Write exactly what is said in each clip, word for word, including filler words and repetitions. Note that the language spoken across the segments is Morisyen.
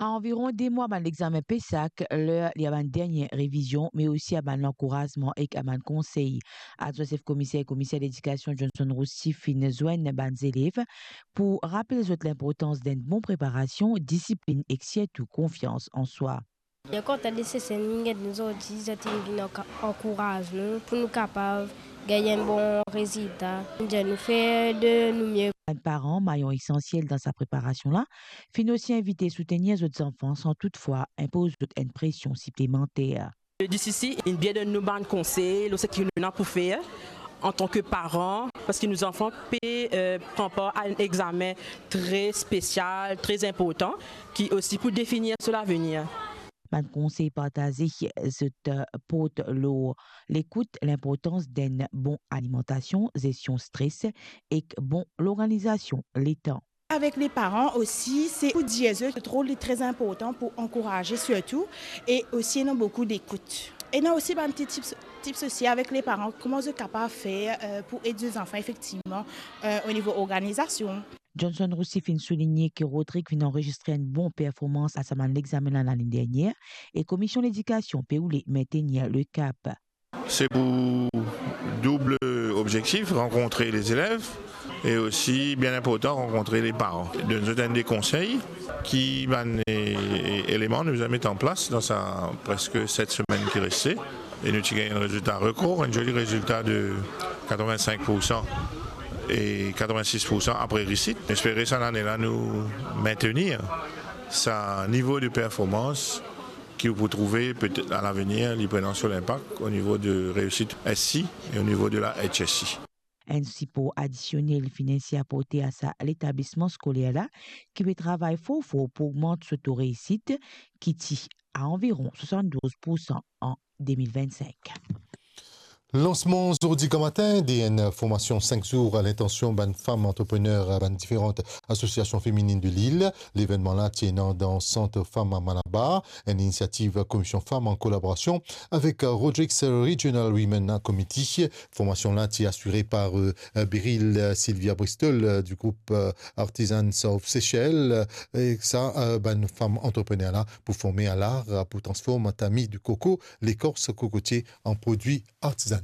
A anviron de mwa bann lexame PESAC, ler li a bann dernie revizion, me osi a bann lankourazman ek a bann konsey. Adwin sef komiser, komiser ledikasion Johnson Roussy finn zwenn bann zelev pou rapel zot linportans d'enn bon preparasion, disiplinn ek sirtou konfians an swa. Mwa kontan de Sesel, mwa get nou zordi, zot inn vinn anka-, ankouraz nou pou nou kapav gagn enn bon rezilta. Mwa dir nou fer de nou mie. Bann paran, mayon esansiel dan sa preparasion la, finn osi invite soutenir zot zanfan san toutfwa inpoz zot enn presion siplemanter. Le D C C inn bien donn nou bann konsey lor seki nou ena pou fer antan ki paran, parski nou zanfan pe, eh, pran par a enn examen tre spesial, tre inportan, ki osi pou definir so lavenir. Bann konsey partaze zot, eh, port lor lekout, linportans d'enn bon alimantasion, zestion stres ek bon lorganizasion letan. Avek le paran osi, se pou dir zot, zot rol li tre inportan pou ankouraze sirtou, e osi ena boukou dekout. Ena osi bann ti tips, tips osi avek le paran, kouma zot kapav fer, eh, pou ed zot zanfan efektivman, eh, o nivo organizasion. Johnson Roussy finn souligne ki Rodrig finn anrezistre enn bon performans a sa bann lexame la lane dernier, e Komisionn Ledikasion pe oule mentenir le kap. Se pou doub obzektif, rankontre lezelev e osi, bien inportan, rankontre leparan. Donn zot enn de konsey, ki bann, e, eleman nou bizin met an plas dan sa preske set semenn ki reste. E nou ti gagn enn rezilta rekor, enn zoli rezilta de katrevinsenk poursan e katrevinsis poursan apre reisit. Espere sa lane la nou mentenir sa nivo de performans ki ou pou trouve petet a lavenir, li pou ena so linpak o nivo de reisit S C e o nivo de la H S C. Enn sipor adisionel finansie aporte a sa letablisman skoler la, ki pe travay for for pou ogmant so to reisit, ki ti a anviron swasanndouz poursan an de mil vennsenk. Lansman zordi gramatin de enn formasion sink zour a lintansion bann fam antreprener a bann diferan asosiasion femininn de lil. Levennman la ti ena dan Sant Fam a Malabar, enn inisiativ Komision Fam an kolaborasion avek Rodrigues Regional Women Committee. Formasion la ti asire par, eh, Beryl, eh, Sylvia Bristol, eh, du group, eh, Artisans of Seychelles, eh, e sa, eh, bann fam antreprener la pou forme a lar, eh, pou transform tami de koko, lekors kokotie, an prodwi artizana.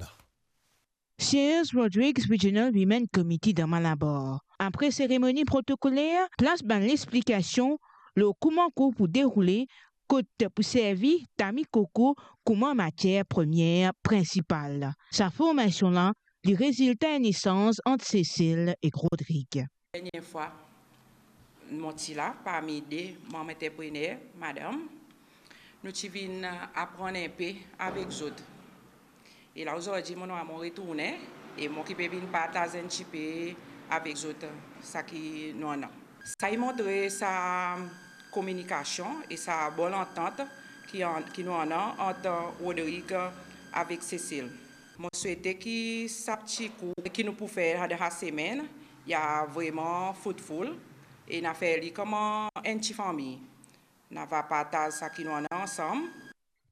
Siez Rodrigues Regional Women Committee dan Malabar. Apre seremoni protokoler, plas bann lexplikasion lor kouma kour pou deroule, kot pou servi tami koko kouma matier premier prinsipal. Sa formasion la, li rezilta enn esanz ant Sesel ek Rodrig. Dernie fwa, mo ti la parmi de manm antreprener, madam, nou ti vinn aprann inpe avek zot. E la, ozordi, mo nwa mo retourne, e mo ki pe vinn partaz enn tipe avek zot saki nou ena. Sa inn montre sa kominikasion e sa bon lantant ki an-, ki nou ena ant Rodrig avek Sesel. Mo swete ki sa pti kour ki nou pou fer dan sa semenn, li a vreman fruitful, e nou a fer li kouma enn ti fami. Nou ava partaz saki nou ena ansam.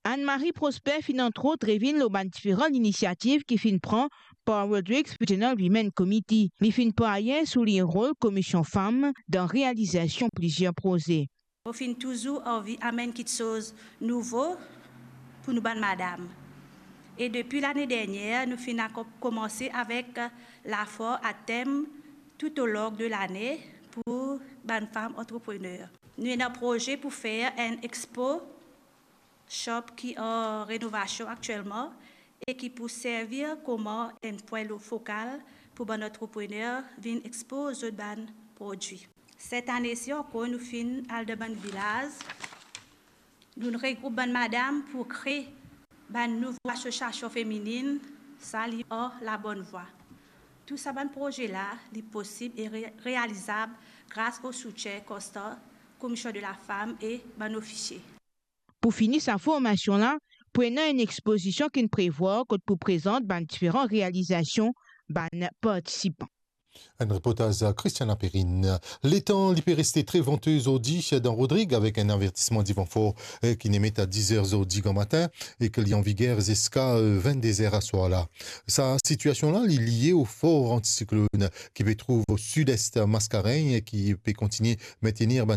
Anne-Marie Prosper finn antrot revinn lor bann diferan linisiativ ki finn pran par Rodrigues Regional Women Committee. Li finn partaze so rol Komision Fam dan realizasion plizier proze. Mo finn touzour anvi amenn kiksoz nouvo pou nou bann madam. E depi lane dernier, nou finn akon-, komanse avek lafor a tem tout o long de lane pou bann fam antreprener. Nou ena proze pou fer enn expo shop ki an renovasion aktielman e ki pou servi kouma enn pwin lo-, fokal pou bann antreprener vinn expoz zot bann prodwi. Set ane si ankor nou finn al dan bann vilaz, nou regroup bann madam pou kre bann nouvo asosiasion femininn, sa li an labonn vwa. Tou sa bann proze la, li posib e re-, realizab gras o soutien konstan Komision de la Fam e bann ofisie. Pou fini sa formasion la, pou ena enn expozision ki'nn prevwar kot pou prezant bann diferan realizasion bann partisipan. Enn reportaz Christiana Perrine. Letan li pe reste tre vante zordi dan Rodrig avek enn avertisman divan for, eh, ki'nn emet a diz er zordi gramatin e ki li an viger ziska, eh, vennde er aswar la. Sa sitiasion la, li lie o for antisiklonn ki pe trouv o sid-est Mascarenhas e ki pe kontigne mentenir bann